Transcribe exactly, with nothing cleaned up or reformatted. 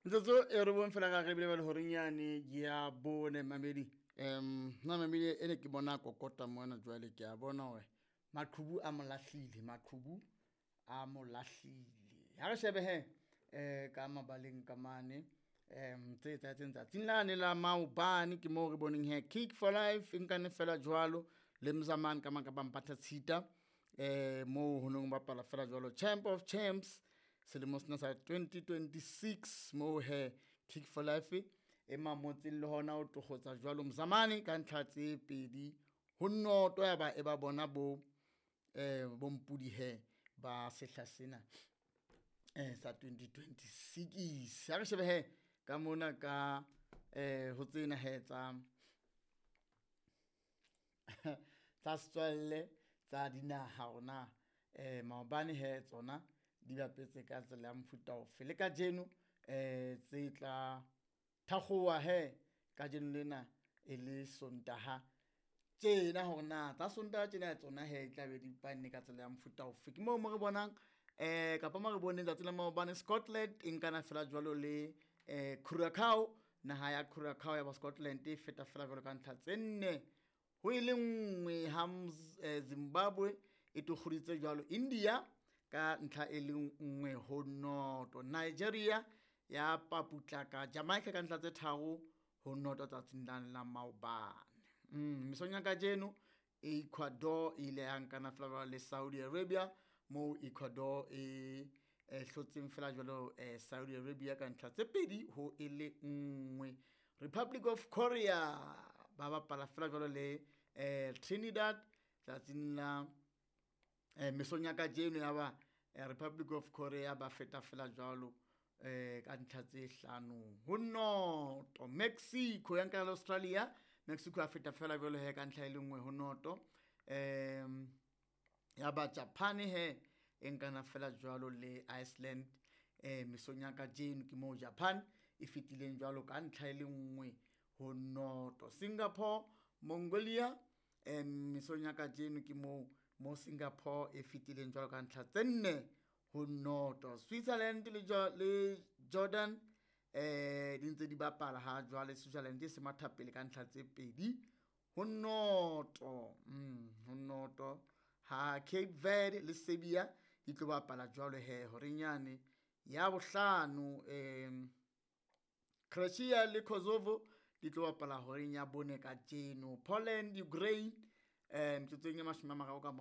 Metsotso e robong fela ka re bile le horeng yane ya bone mamedi. Um nna mamedi ene ke bona kokota mona jwale ke a bona hore maqhubu a mo lahlile, maqhubu a mo lahlile. Ha re shebe he eh ka mabaleng ka mane um tse etsahetseng tsatsing lane la maobane ke moo re boneng he Kick for Life e nkane fela jwalo le Mzamane ka mang ka Mpatha Tshita eh moo ho nong bapala fela jwalo Champ of Champs selemo sena sa twenty twenty-six moo he Kick for Life e mamotseng le hona ho tokgotsa jwalo Mzamane ka ntlha tse pedi ho noto ya ba e ba bona bo eh bompudi he ba sehla sena eh sa twenty twenty-six. Ha re shebe he ka mona ka eh ho tsena he tsa tsa setswalle tsa dinaha rona eh maobane he tsona di bapetse ka tsela ya mofuta ofe le kajeno eh tse tla thakgowa he kajeno lena e le Sontaha tjena hore na tsa Sontaha tjena tsona he tla be di panne ka tsela ya mofuta ofe. Ke moo mo re bonang eh kapa mo re boneng tsatsi la maobane Scotland e nkana fela jwalo le eh Curacao, naha ya Curacao ya ba Scotland e feta fela jwalo ka ntlha tse nne ho e le nngwe ha Zimbabwe e tokgoditse jwalo India ka ntlha e le nngwe ho noto. Nigeria ya paputlaka Jamaica ka ntlha tse tharo ho noto tsatsing la la maobane. Mm, mesong ya kajeno Ecuador e ile ya nkana fela jwalo le Saudi Arabia moo Ecuador e e hlotseng fela jwalo eh, Saudi Arabia ka ntlha tse pedi ho e le nngwe. Republic of Korea ba bapala fela jwalo le eh, Trinidad tsatsing la eh, mesong ya kajeno ya ba eh, Republic of Korea ba feta fela jwalo eh, ka ntlha tse hlano ho noto. Mexico ya nkana le Australia, Mexico ya feta fela jwalo he ka ntlha e le nngwe ho noto. Um ya ba Japan he e nkana fela jwalo le Iceland eh mesong ya kajeno ke moo Japan e fetileng jwalo ka ntlha e le nngwe ho noto. Singapore Mongolia eh mesong ya kajeno ke moo mo Singapore e fetileng jwalo ka ntlha tse nne ho noto. Switzerland le le Jordan eh di ntse di bapala ha jwale Switzerland e se matha pele ka ntlha tse pedi ho noto. Mm, ho noto ha Cape Verde le Serbia di tlo bapala jwalo he horeng yane ya bohlano. Eh Croatia le Kosovo di tlo bapala horeng ya bone kajeno. Poland Ukraine eh metsotsong e mashome a mararo ka